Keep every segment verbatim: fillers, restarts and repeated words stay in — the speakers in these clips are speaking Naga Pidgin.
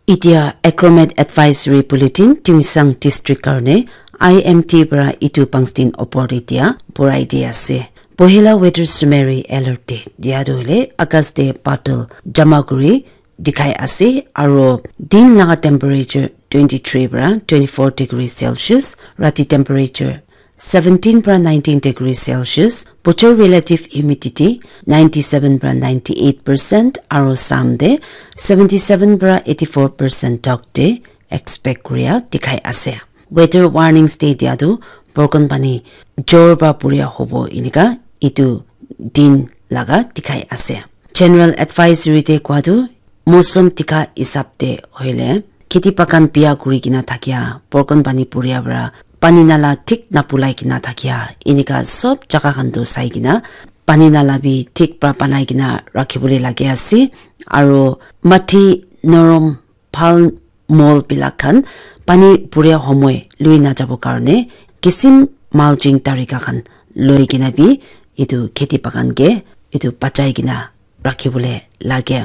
Itia Acromet Advisory Bulletin Tuensang District karne I M D para itu pangstin opor te dia borai di ase. Pohela weather summary alert te dia tu hoile August te badal jama kuri dikhai ase aro din laga temperature twenty-three para twenty-four degree Celsius, rati temperature seventeen para nineteen degree Celsius, bochor relative humidity ninety-seven para ninety-eight percent aro sam te seventy-seven para eighty-four percent tok te expect kuria dikhai ase. Weather warnings te dia tu borkon pani jor para puria hobo inika itu din laga dikhai ase. General advisory te kua tu mosum tika hisab te hoile kheti bagan biya kuri kena thakia borkon pani puria para pani nala thik napulai kena thakia inika sob jaga khan tu sai kena pani nala bi thik para banai kena rakhibole lage ase aro mati norom bhal mol bilak khan pani puria homoi lui na jabo karne kisim mulching tarika khan loi kena bi itu kheti bagan ke itu bachai kena rakhibole lage.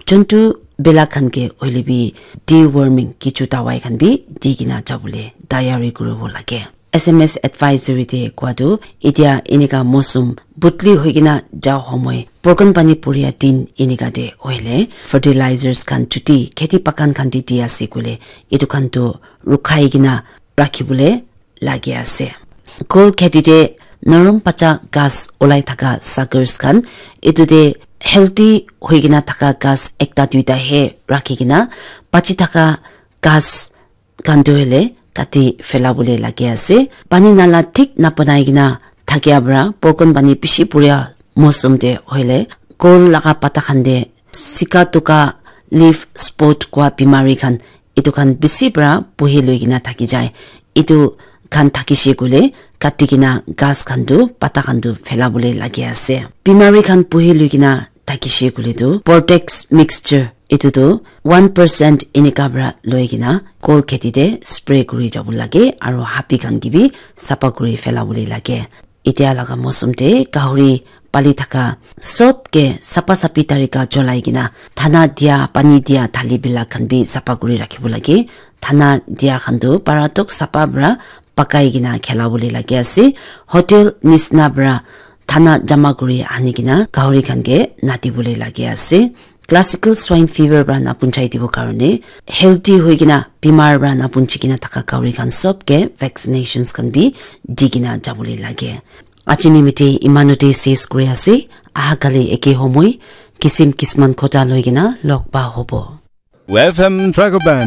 Juntu bilak khan ke hoile bi deworming kichu dawai khan bi di kena jabole tayari kuribo lage. S M S advisory te kua tu itia inika mosum butli hoi kena ja homoi borkon pani puria din inika te hoile fertilizers khan chuti kheti bagan khan te di ase koile itu khan tu rukhai kena rakhibole lage ase. Kol kheti te norom pacha ghas olai thaka suckers khan itu te healthy hoi kena thaka ghas ekta duita he rakhi kena bachi thaka ghas khan tu hoile kati phelabole lage ase. Pani nala thik nabanai kena thakia para borkon pani bishi puria mosum te hoile kol laga pata khan te sika tuka leaf spot kua bimari khan itu khan bishi para buhi loi kena thaki jai. Itu khan thakishe koile kati kena ghas khan tu pata khan tu phelabole lage ase. Bimari khan buhi loi kena thakishe koile tu Portex mixture itu tu one percent inika para loi kena kol kheti te spray kuri jabo lage aro hapi khan ke bi sapa kuri phelabole lage. Itia laga mosum te gahuri pali thaka sob ke sapa sapi tarika cholai kena thana dia pani dia thali bilak khan bi sapa kuri rakhibo lage. Thana dia khan tu para tok sapa para pakai kena khelabole lage ase. Hotel nisna para thana jama kuri ani kena gahuri khan ke natibole lage ase. Classical swine fever para napunchai dibo karne healthy hoi kena bimar para napunchi kena thaka gahuri khan sob ke vaccinations khan bi di kena jabole lage. Aji nimite imanote ses kuri ase. Aha kali eke homoi kisim kisman khota loi kena log pa hobo. F M Dragon Band.